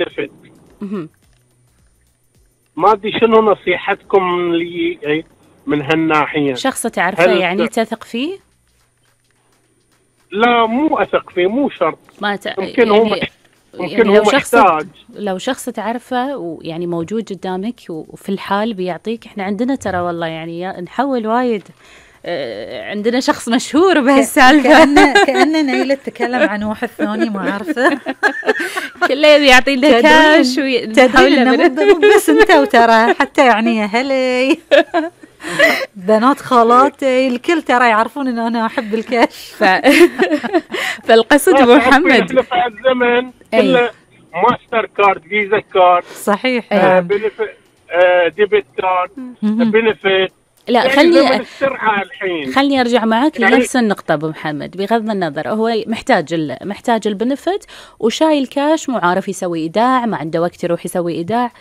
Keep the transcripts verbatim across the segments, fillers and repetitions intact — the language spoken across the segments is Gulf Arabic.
بنفت. ما ادري شنو نصيحتكم لي من هالناحيه. شخص تعرفه يعني تثق فيه؟ لا مو اثق فيه، مو شرط. ما ت... ممكن يعني... هو مح... ممكن يعني هو لو شخص محتاج. لو شخص تعرفه ويعني موجود قدامك وفي الحال بيعطيك. احنا عندنا ترى والله يعني نحول وايد. عندنا شخص مشهور بهالسالفة. كأنه كأنه نيلة تتكلم عن واحد ثاني ما عارفه. كله يبي يعطي له كاش تدرين انه مو بس انت وترى حتى يعني يا هلي بنات خالاتي الكل ترى يعرفون ان انا احب الكاش. ف... فالقصد ابو محمد في الزمن كله ماستر كارد، فيزا كارد، صحيح، آه بنف... آه ديبت كارد، بنفت. لا يعني خلني الحين. خلني ارجع معك يعني لنفس النقطه ابو محمد. بغض النظر هو محتاج ال... محتاج البنفت وشايل كاش، مو عارف يسوي ايداع، ما عنده وقت يروح يسوي ايداع.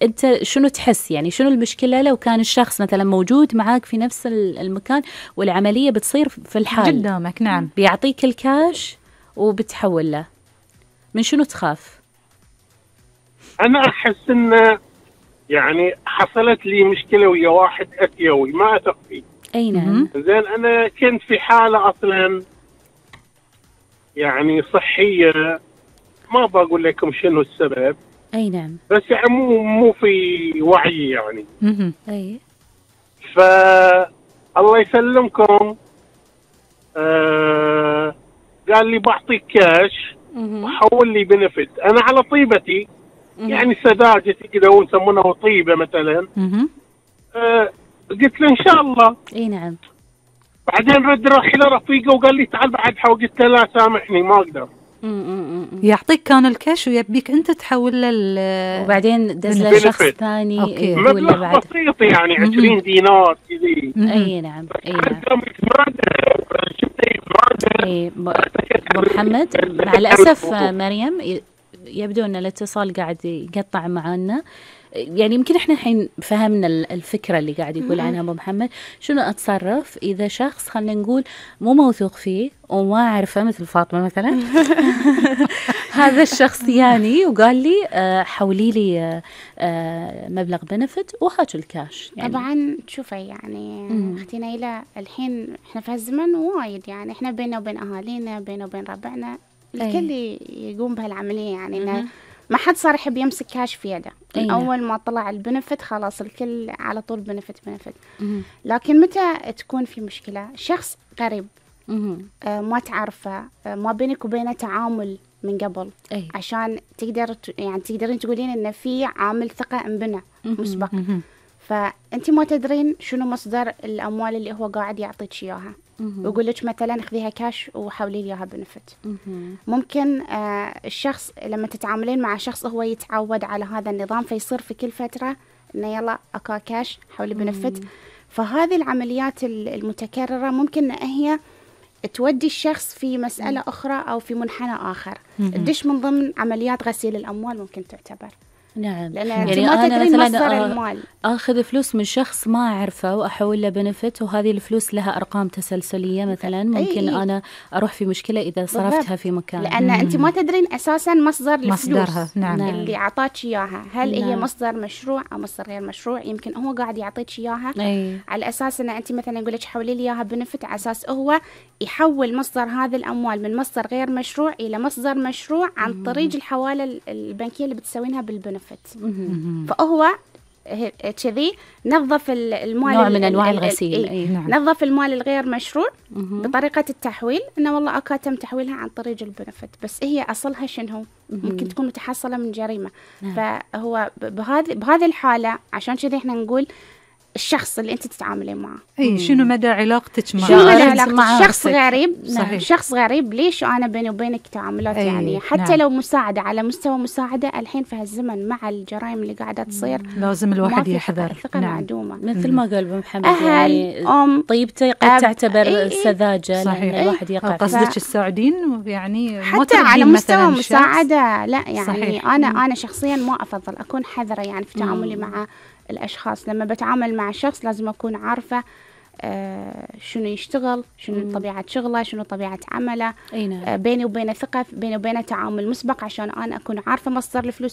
انت شنو تحس يعني شنو المشكله لو كان الشخص مثلا موجود معاك في نفس المكان والعمليه بتصير في الحال قدامك؟ نعم، بيعطيك الكاش وبتحول له، من شنو تخاف؟ انا احس ان يعني حصلت لي مشكله ويا واحد اسيوي ما اثق فيه. اي نعم. زين انا كنت في حاله اصلا يعني صحيه، ما بقول لكم شنو السبب. اي نعم. بس يعني مو مو في وعي يعني. اها اي. ف الله يسلمكم آه قال لي بعطيك كاش وحول لي بنفت. انا على طيبتي يعني سذاجتي كذا ونسمونها طيبه مثلا. آه قلت له ان شاء الله. اي نعم. بعدين رد راح لرفيقه وقال لي تعال بعد حول. قلت له لا سامحني ما اقدر. يعطيك كان الكاش ويبيك انت تحول له وبعدين دز له شخص ثاني مبلغ بسيط يعني عشرين دينار كذي. اي نعم. اي نعم. اي ابو محمد مع الاسف مريم يبدو ان الاتصال قاعد يقطع معنا. يعني يمكن احنا الحين فهمنا الفكره اللي قاعد يقول عنها ابو محمد. شنو اتصرف اذا شخص خلينا نقول مو موثوق فيه وما اعرفه مثل فاطمه مثلا هذا الشخص يعني وقال لي آه حولي لي آه مبلغ بنفت وهاك الكاش يعني. طبعا شوفي يعني مم. اختي نيلة الحين احنا في هالزمن وايد يعني احنا بيننا وبين اهالينا بيننا وبين ربعنا الكل يقوم بهالعمليه يعني انه ما حد صار يحب يمسك كاش في يده. من أول ما طلع البنفت خلاص الكل على طول بنفت بنفت. لكن متى تكون في مشكلة شخص قريب آه ما تعرفه آه ما بينك وبينه تعامل من قبل أي. عشان تقدر يعني تقدرين تقولين إن في عامل ثقة انبنى مسبق. فأنت ما تدرين شنو مصدر الأموال اللي هو قاعد يعطيك إياها. ويقول لك مثلا خذيها كاش وحولي لي اياها بنفت. ممكن آه الشخص لما تتعاملين مع شخص هو يتعود على هذا النظام فيصير في كل فتره انه يلا اكا كاش حولي بنفت. فهذه العمليات المتكرره ممكن ان هي تودي الشخص في مساله مم. اخرى او في منحنى اخر. الدش من ضمن عمليات غسيل الاموال ممكن تعتبر. نعم. يعني أنا مثلا أخذ فلوس من شخص ما أعرفه وأحول له بنفت وهذه الفلوس لها أرقام تسلسلية مثلا ممكن أي. أنا أروح في مشكلة إذا صرفتها في مكان. لأن مم. أنت ما تدرين أساسا مصدر مصدرها. نعم. اللي أعطاك إياها هل نعم. هي مصدر مشروع أو مصدر غير مشروع. يمكن هو قاعد يعطيك إياها أي. على أساس أن أنت مثلا يقول لك حولي لي إياها بنفت على أساس هو يحول مصدر هذه الأموال من مصدر غير مشروع إلى مصدر مشروع عن مم. طريق الحوالة البنكية اللي بتسوينها بالبنفت. فهو كذي نظف المال نوع من انواع الغسيل. أي. نعم. نظف المال الغير مشروع مم. بطريقه التحويل انه والله اكا تم تحويلها عن طريق البنفت بس هي اصلها شنو ممكن تكون متحصله من جريمه. نعم. فهو بهذه بهذه الحاله عشان كذي احنا نقول الشخص اللي انت تتعاملين معه اي شنو مدى علاقتك معه. شنو مدى علاقتك شخص غريب. نعم. شخص غريب ليش انا بيني وبينك تعاملات يعني حتى نعم. لو مساعده على مستوى مساعده الحين في هالزمن مع الجرائم اللي قاعده تصير لازم الواحد يحذر. الثقه نعم. معدومه مثل ما قال ابو محمد أهل يعني أم طيبته قد تعتبر إيه سذاجه صحيح. الواحد يقع قصدك ف... السعودين يعني حتى على مستوى مساعده لا يعني صحيح. انا مم. انا شخصيا ما افضل اكون حذره يعني في تعاملي مع الأشخاص. لما بتعامل مع شخص لازم أكون عارفة آه شنو يشتغل، شنو مم. طبيعة شغله، شنو طبيعة عمله. أي نعم. آه بيني وبينه ثقة، بيني وبينه تعامل مسبق عشان أنا أكون عارفة مصدر الفلوس